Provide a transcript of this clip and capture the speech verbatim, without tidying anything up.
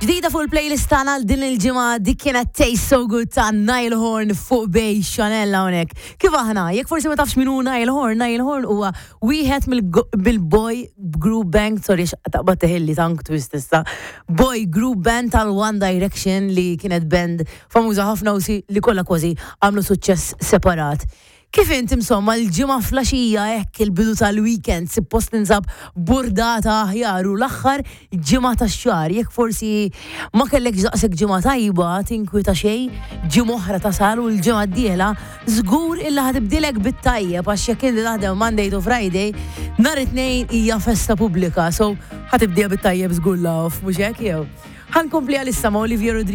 Ġdida fuq il-playlist tagħna għal din il-ġimgħa, dik kienet "Taste So Good" ta' Niall Horan fuq Bay Chanel hawnhekk. Kif aħna, jekk forsi ma tafx min hu Niall Horan, Niall Horan huwa wieħed mill-boy group band, sorry, taqbad teħilli tongue twist issa, boy group band tal-One Direction, li kienet band famuża ħafna u si li kollha kważi għamlu suċċess separat. Kif int, insomma, l-ġimgħa filgħaxija hekk, il-bidu tal-weekend, suppost ninsab burdata aħjar u l-aħħar ġimgħa tax-xahar. Jekk forsi ma kellek daqshekk ġimgħa tajba, tinkwieta xejn, ġimgħa oħra tasal u l-ġimgħa d-dieħla żgur illa ħa tibdilek bit-tajjeb, għax jekk inti taħdem Monday to Friday, nhar it-Tnejn hija festa pubblika, so ħa tibdieha bit-tajjeb żgur la off, mhux hekk jew? Ħa nkompli għalissa ma' Olivia Rodrigo.